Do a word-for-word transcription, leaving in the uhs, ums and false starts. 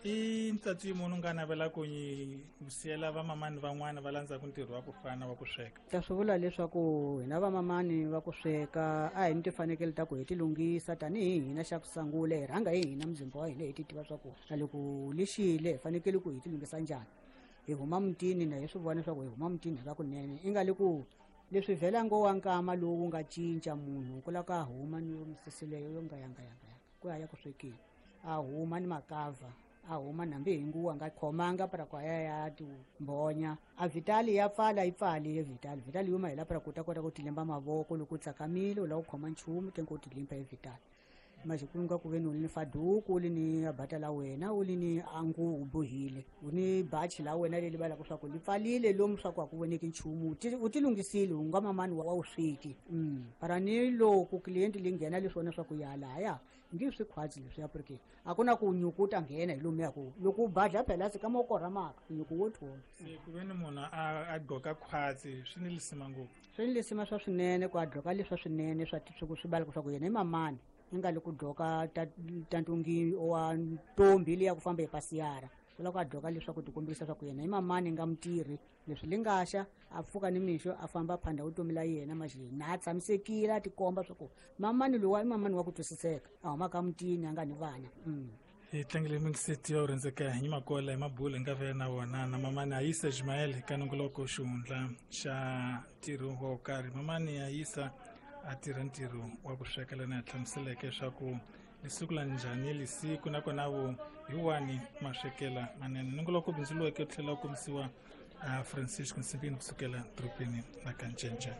I ntsatsi munhu nga navela ku nyi siyela vamamani van'wana va landzaka ntirho wa ku fana wa ku sweka. Ta swi vula leswaku hina vamamani va ku sweka a hi ni tifanekele ta ku hi ti lunghisa tanihi hina xa ku sungula hi rhanga hi hina muzimba wa hina hi ti tiva swa ku na loko lexile hi fanekele ku hi ti lunghisa njhani. Hi huma mutini na hi swi vona leswaku hi huma mutini hi va kunene i nga le ku leswi vhela ngo wa nkama lowu nga cinca munhu ku lava ka huma ni misisi leyo yo nga yanga yanga yanga ku ya ya ku swekeni a huma ni makava a huma nambi hi nguwa nga khomanga para ku ya ya timbhonya a vitali ya pfala yi pfali ye vitali vitali yuma hi la para ku ta kota ku tilimba mavoko loko u tsakamile u lava ku khoma nchumu tengo u tilimba hi vitali manje ku nga ku ve ni u ni faduku u li ni abata la wena u li ni angu u bohile u ni bachi la wena leli valaka swa ku li pfalile lomu swa ku a ku voneki nchumu u ti lunghisile u nga mamani wa wu sweki mm para ni loko client li nghena leswona swa ku ya lahaya ngi swi khwatsi leswiya porque a ku na ku nyuku ta nghena hi lomu ya ku loko u badla phela se ka mo korha maka nyuku wo thola se ku ve ni munhu a a gqoka khwatsi swi ni lisima ngopfu swi ni lisima swa swinene ku a gqoka leswa swinene swa swi swi balaka swa ku yena i mamani i nga le ku gqoka ta ta ntungi wa ntombi liya ku famba hi pasiyara ku lava ku a gqoka leswaku ti kombisa swa ku yena i mamani nga mutirhi leswi li nga xa a pfuka ni mixo a famba phanda vutomi la yena maxi na a tshamisekile a tikomba swa ku mamani lowa i mamani wa ku twisiseka a humaka mutini a nga ni vana mm. Hi tlangele mingiseti ya rhendzeka hi makola hi mabula hi nga vela na wona na mamani Ayisa Ismail ka nongoloko xihundla xa ntirho wo karhi. Mamani Ayisa a tirha ntirho wa ku sweka lana a hlamuseleke leswaku lisiku la njhani lisiku nakona vo hi wani maswekela manene. Nongoloko bindzu lowu tlhela wu kombisiwa a Francisco Nsimbini kusukela dorobeni ra Kanjenje.